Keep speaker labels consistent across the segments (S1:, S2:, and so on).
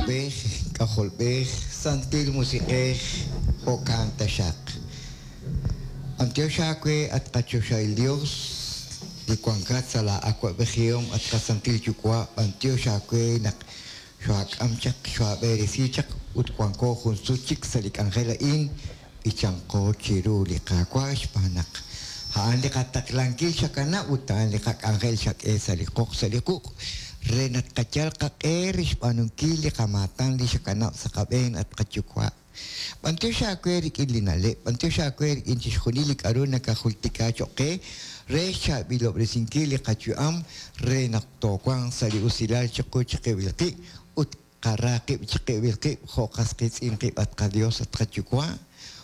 S1: Yuwa'b'ej, K'ajolb'ej, Santil Musiq'ej, jo'kan taxaq. B'antiox aawe, at qaChoxahil Dios, li wankat sa' laa awa'b'ejihom, at qaSantil Yuwa', b'antiox aawe naq xoohaak'am chaq, xoohaab'eresi chaq, ut wanko jun sut chik sa' li k'anjel a'in, b'ichanqo chiru li Qaawa' xb'aan naq a'an li qataqlankil xakanab' ut a'an li qak'anjel xak'e sa' li qoq sa' li quq' re naq tqayal qaq'e re xb'aanunkil li qamaatan li xakanab' sa' qab'een, at qaYuwa'. B'antiox aawe rik'in li na'leb', b'antiox aawe rik'in chixjunil li k'a'ru nakajultika choq' qe re xchaab'ilob'resinkil li qayu'am re naq toowanq sa' li usilal chiqu chiqib'il qib' ut Qara qib' chiqib'il qib' jo' qas qiitz'in qib' at qaDios, at qaYuwa',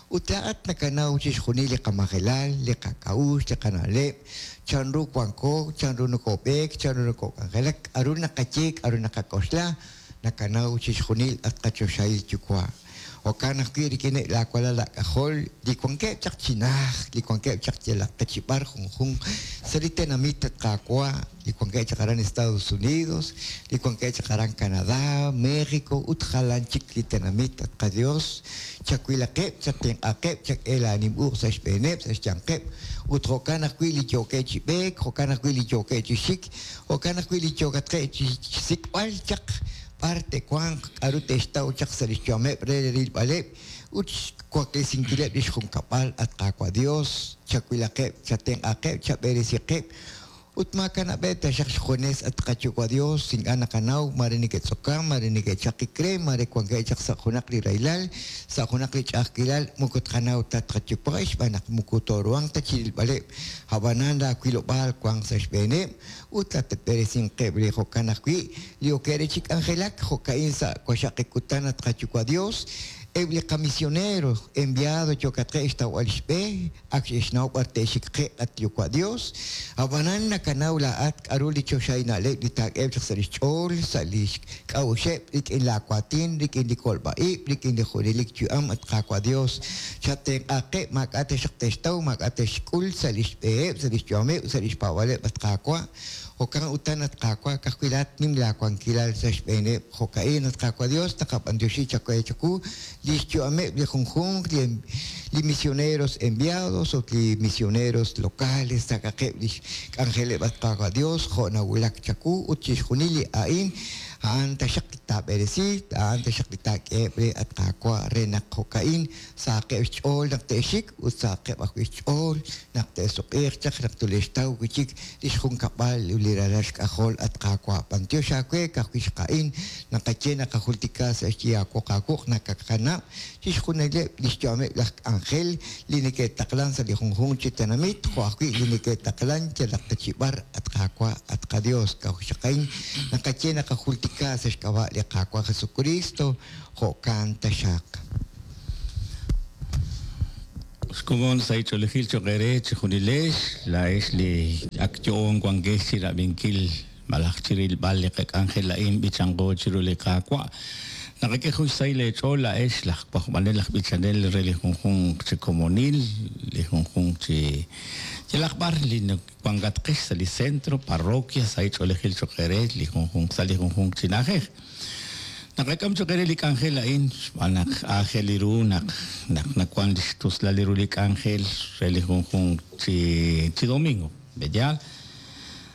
S1: ut laa'at nakanaw chixjunil li qamajelal, li qak'a'uxl, li qana'leb', chanru wanko, chanru nokob'eek, chanru nokok'anjelak, k'a'ru naqaye, k'a'ru naqak'oxla, nakanaw chixjunil, at qaChoxahil Yuwa'. Jo'kan ajwi' rik'ineb' laawalal aak'ajol li wankeb' chaq chi najt, li wankeb' chaq yalaq ta chi b'ar junjunq sa' li tenamit, at Qaawa', li wankeb' chaq aran Estados Unidos, li wankeb' chaq aran Canadá, México ut jalan chik li tenamit, at qaYos, chawilaqeb', chatenq'aqeb', chak'e laanim uq' sa' xb'eeneb', sa' xyanqeb', ut jo'kan ajwi' li yookeb' chi b'eek, jo'kan ajwi' li yookeb' chi xik, jo'kan ajwi' li yookatqeb' chi xsik'b'al chaq b'ar te'wanq, k'a'ru te'xtaw chaq sa' lix yu'ameb' re rilb'aleb' ut xwaklesinkileb' lix junkab'al, at Qaawa' Dios, chawilaqeb', chatenq'aqeb', chab'eresiqeb', ut maakanab'eb' taxaq xjunes, at qaYuwa' Dios, ink'a' naqanaw, maare neke'tz'okan, maare neke'chaqik re, maare wankeb' chaq sa' junaq li rahilal, sa' junaq li ch'a'ajkilal, moko tqanaw ta, at qaYuwa', xb'aan naq moko tooruhanq ta chirilb'aleb', a'b'anan laa wilob'aal wanq sa' xb'eeneb', ut latatb'eresinqeb' re jo'kan ajwi' li ok eere chi k'anjelak jo'ka'in sa' waxaqik kutan at qaYuwa' Dios, eb' li qamisionero enviado yookatqeb' xtawb'al xb'e, ak xe'xnaw b'ar te'xik qe at Yuwa' Dios, a'b'anan nakanaw laa'at k'a'ru li choxahil na'leb' li taak'eheb' chaq sa' lix ch'ool, sa' lix k'a'uxeb', rik'in laa waatin, rik'in li kolb'a-ib', rik'in li junelik yu'am at Qaawa' Dios, Chatenq'aqeb', maak'a' taxaq te'xtaw, maak'a' te'xk'ul sa' lix b'eheb', sa' lix yu'ameb', sa' lix paab'aaleb', at Qaawa'. Jo'kan utan, at Qaawa', ka'ajwi' laa'at nim laa wankilal sa' xb'eeneb'. Jo'ka'in, at Qaawa' Dios, naqab'antioxi chawe chawu lix yu'ameb' li junjunq li li misioneros enviados ut li misioneros locales, sak'aqeb' lix k'anjeleb', at Qaawa' Dios, jo' nawulak chawu, ut chixjunil li a'in, A'an taxaq li taab'eresi, a'an taxaq li taak'eheb' re, at Qaawa', re naq jo'ka'in sahaqeb' xch'ool naq te'xik ut sahaqeb' ajwi' xch'ool naq te'suq'iiq chaq naq tule'xtaw wi' chik li xjunkab'al ut li ralal xk'ajol, at Qaawa'. B'antiox aawe, ka'ajwi' xqa'in naqaye naqajultika sa' xyi aawoq aawuq nakakanab' chixjunileb' li xyu'ameb' laj k'anjel li neke'taqlan sa' li junjunq chi tenamit, jo' ajwi' li neke'taqlan yalaq ta chi b'ar, at Qaawa', at qaDios, kawxaqain, naqaye naqajultika sa' xk'ab'a' li Qaawa' Jesukristo, jo'kan taxaq.
S2: Xkomon sahil ch'oolejil cho'q eere chejunilex, laa'ex li ak yo'oon wankex chi rab'inkil malaj chi rilb'al li qak'anjel a'in b'ichanqo chiru li Qaawa'. Naqak'e jun xsahil eech'ool laa'ex laj wajb'anel aj b'ichanel re li junjunq chi komonil, li junjunq chi yalaq b'ar li wankatqex sa' li centro, parroquia, sahil ch'oolejil cho'q eere li junjunq sa' li junjunq chi na'ajej. Naqak'am cho'q eere li k'anjel a'in xb'aan naq aajel ru naq naq nawank li xtuslal ru li k'anjel re li junjunq chi chi domingo. B'eyaal?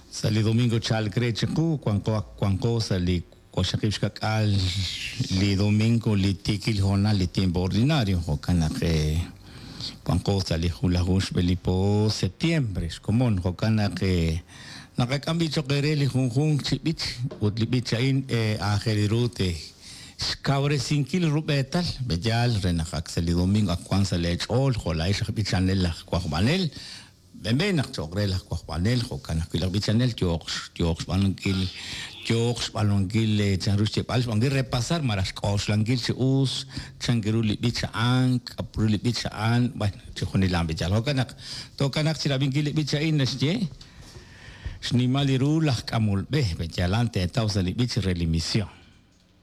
S2: Sa' li domingo chalk re chiqu, wanqo ak wanqo sa' li waqxaqib' xka'k'aal li domingo li tiikil hoonal li tiempo ordinario, jo'kan naq wanqo sa' li junlaju xb'e li po septiembre xkomon, jo'kan naq naqak'am b'i' cho'q eere li junjunq chi b'ich ut li b'ich a'in aajel ru te xkawresinkil rub'eetal, b'eyaal re naq ak sa' li domingo ak wank sa' leech'ool jo' laa'ex aj b'ichanel aj wajb'anel. B'enb'en naq cho'q re laj wajb'anel, jo'kan ajwi' laj b'ichanel yooq yooq xb'aanunkil yooq xb'aanunkil chanru xyeeb'al, xb'aanunkil repasar malaj xk'oxlankil chi us chank ru li b'ich a'an, k'a' ru li b'ich a'an, bueno, chixjunil a'an b'ichal. Jo'kan naq tookanaq chi rab'inkil li b'ich a'in naxye, Xnimal li ru laj k'amol b'e, b'eyaal a'an teetaw sa' li b'ich re li mision.